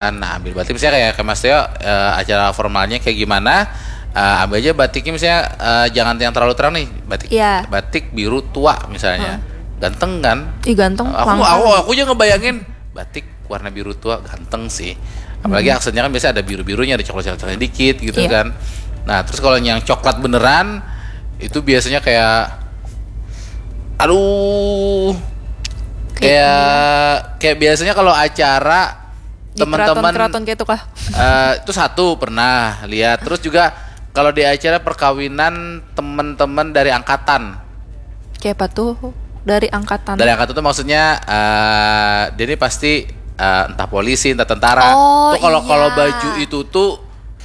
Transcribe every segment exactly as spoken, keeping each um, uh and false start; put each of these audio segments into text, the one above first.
Nah, ambil batik misalnya kayak, kayak Mas Teo, eh, acara formalnya kayak gimana, eh, ambil aja batiknya misalnya, eh, jangan yang terlalu terang nih, batik Iya. batik biru tua misalnya. Ganteng kan? Ih, ganteng, Aku langka. aku aku aja ngebayangin batik warna biru tua ganteng sih. Apalagi aksennya kan biasa ada biru-birunya, ada coklat-coklatnya dikit gitu Iya. kan. Nah, terus kalau yang coklat beneran itu biasanya kayak, aduh, kayak kayak biasanya kalau acara Di teman-teman keraton-keraton kayak itu kah? Eh, itu satu pernah lihat. Terus juga kalau di acara perkawinan teman-teman dari angkatan. Kayak apa tuh? Dari angkatan. Dari angkatan tuh maksudnya, eh, dia ini pasti, eh, entah polisi, entah tentara. Oh, Tuh kalau iya. kalau baju itu tuh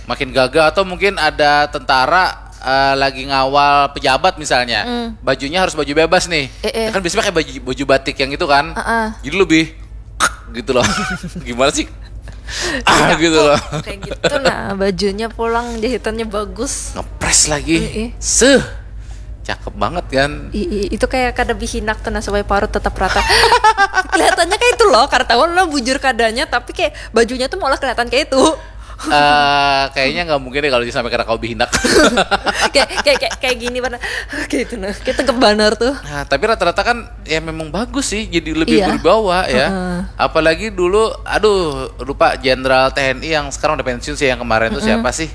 makin gagah, atau mungkin ada tentara, eh, lagi ngawal pejabat misalnya. Bajunya harus baju bebas nih. Eh, eh. Ya kan biasanya pakai baju baju batik yang itu kan. Heeh. Jadi lebih gitu loh. Gimana sih? Ah, gitu loh. Kayak gitu, nah, bajunya pulang jahitannya bagus. Ngepres lagi. Iya. Seh. Cakep banget kan? I- i- itu kayak kada bihinak tuh, nah, supaya parut tetap rata. Kelihatannya kayak itu loh, karena tahu lah bujur kadanya, tapi kayak bajunya tuh malah kelihatan kayak itu. Eh, kayaknya nggak mungkin deh kalau disampaikan kau bihinak. Kayak kayak kayak, kayak gini, mana? Kayak itu, nah, kayak tegap banar tuh. Nah, tapi rata-rata kan ya memang bagus sih, jadi lebih Iya. Berwibawa ya. Heeh. Apalagi dulu, aduh, lupa, Jenderal T N I yang sekarang udah pensiun sih, yang kemarin tuh siapa sih?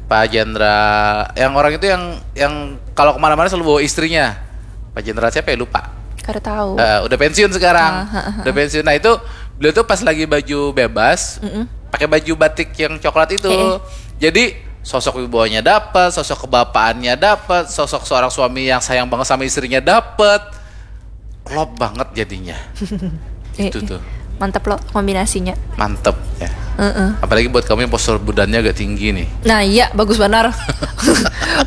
Pak Jenderal, yang orang itu yang yang kalau kemana-mana selalu bawa istrinya. Pak Jenderal siapa ya, lupa. Kada tahu. Eh, udah pensiun sekarang. Ah, ha, ha. Udah pensiun. Nah, itu beliau tuh pas lagi baju bebas, pakai baju batik yang coklat itu. Eh, eh. Jadi sosok wibawanya dapat, sosok kebapaannya dapat, sosok seorang suami yang sayang banget sama istrinya dapat. Klop banget jadinya. Eh, Itu eh. Tuh. Mantap loh kombinasinya. Mantep ya. Heeh. Apalagi buat kamu yang postur budannya agak tinggi nih. Nah, iya, bagus banar.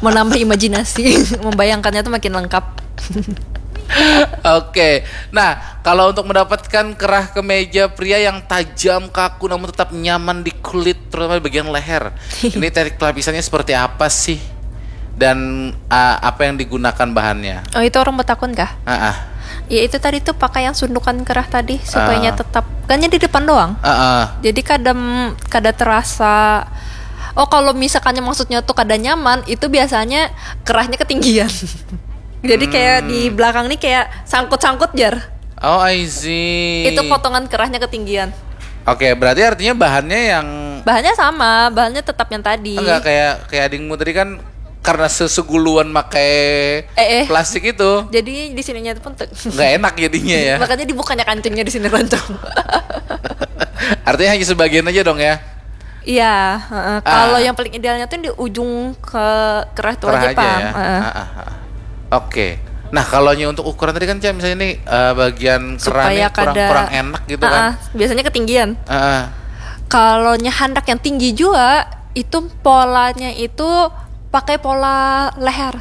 Menambah imajinasi, membayangkannya tuh makin lengkap. Oke. Nah, kalau untuk mendapatkan kerah kemeja pria yang tajam, kaku, namun tetap nyaman di kulit, terutama di bagian leher, ini teknik pelapisannya seperti apa sih? Dan, ah, apa yang digunakan bahannya? Oh, itu orang betakun kah? Ah, ah. Ya, itu tadi tuh pakai yang sundukan kerah tadi supaya Ah. tetap, kan di depan doang. Ah, ah. Jadi kadang kada terasa. Oh, kalau misalkannya maksudnya tuh kada nyaman, itu biasanya kerahnya ketinggian. Jadi kayak di belakang nih kayak sangkut-sangkut, jar. Oh, I see. Itu potongan kerahnya ketinggian. Oke, berarti artinya bahannya yang Bahannya sama, bahannya tetap yang tadi. Enggak, kayak kayak adingmu tadi kan, karena seseguluan pakai Eh, eh. plastik itu, Jadi di sininya itu pun tuh. Nggak enak jadinya ya. Makanya dibukanya kancingnya di sini, roncong. Artinya hanya sebagian aja dong ya. Iya, heeh. Kalau yang paling idealnya tuh di ujung ke kerah tuh Kerah aja, aja Pang. Ya. Heeh. Ah, ah, ah. Oke. Nah, kalau nya untuk ukuran tadi kan, Cak, misalnya nih, eh, bagian kerah Supaya nih kurang kada kurang enak gitu Ah, kan. Ah, biasanya ketinggian. Ah, ah. Kalau nya handak yang tinggi juga, itu polanya itu pakai pola leher.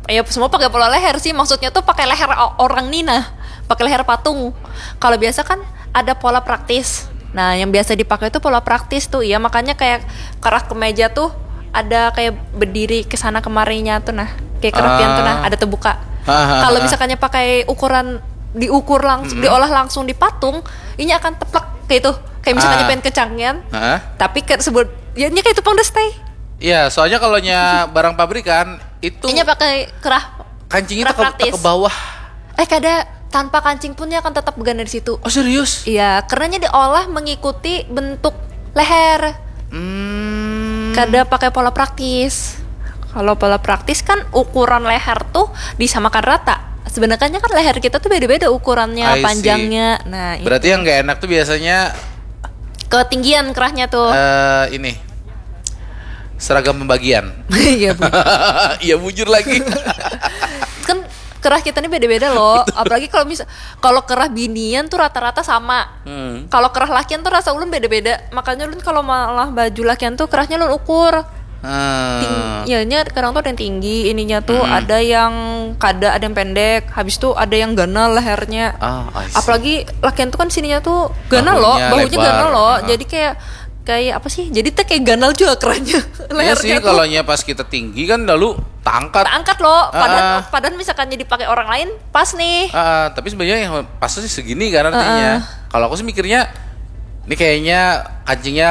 Ya, semua pakai pola leher sih, maksudnya tuh pakai leher o- orang nih, nah, pakai leher patung. Kalau biasa kan ada pola praktis. Nah, yang biasa dipakai itu pola praktis tuh, ya, makanya kayak kerah kemeja tuh ada kayak berdiri ke sana kemarinya tuh, nah, kayak kerah pian tuh, nah, Ah. Ada terbuka. Ah, ah, Kalau ah. Misalkannya pakai ukuran, diukur langsung, diolah langsung di patung, ini akan teplek kayak itu. Kayak misalkannya Ah. Pengen kecangian, Ah. Tapi kayak sebut, ya, ini kayak itu pang, udah stay. Iya, soalnya kalau nya barang pabrikan itu Ini pakai kerah kancingnya kerah tak ke, praktis. Ke bawah. Eh, kada, tanpa kancing pun dia akan tetap begana di situ. Oh, serius? Iya, karena dia diolah mengikuti bentuk leher. Hmm. Kada pakai pola praktis. Kalau pola praktis kan ukuran leher tuh disamakan rata. Sebenarnya kan leher kita tuh beda-beda ukurannya, I see. Panjangnya. Nah, itu. Berarti yang nggak enak tuh biasanya Ketinggian kerahnya tuh. Eh, ini seragam pembagian. Iya, Bu. Iya, bujur lagi. Kan kerah kita nih beda-beda loh. Apalagi kalau misal kalau kerah binian tuh rata-rata sama. Hmm. Kalau kerah lakian tuh rasa ulun beda-beda. Makanya ulun kalau malah baju lakian tuh kerahnya ulun ukur. Hmm. Ting- ya, nya kadang tuh ada yang tinggi, ininya tuh ada yang kada, ada yang pendek. Habis tuh ada yang ganal lehernya. Ah, I see. Apalagi lakian tuh kan sininya tuh ganal loh, Bahunya bahunya lebar. ganal loh. Ah. Jadi kayak kayak apa sih? Jadi tuh kayak ganal juga kerahnya. Iya sih, Lehernya tuh. Kalau nya pas kita tinggi kan lalu tangkat. Angkat loh, padahal Ah. padahal misalkan dipakai orang lain pas nih. Ah, tapi sebenarnya yang pas sih segini kan artinya. Kalau aku sih mikirnya Ini kayaknya kancingnya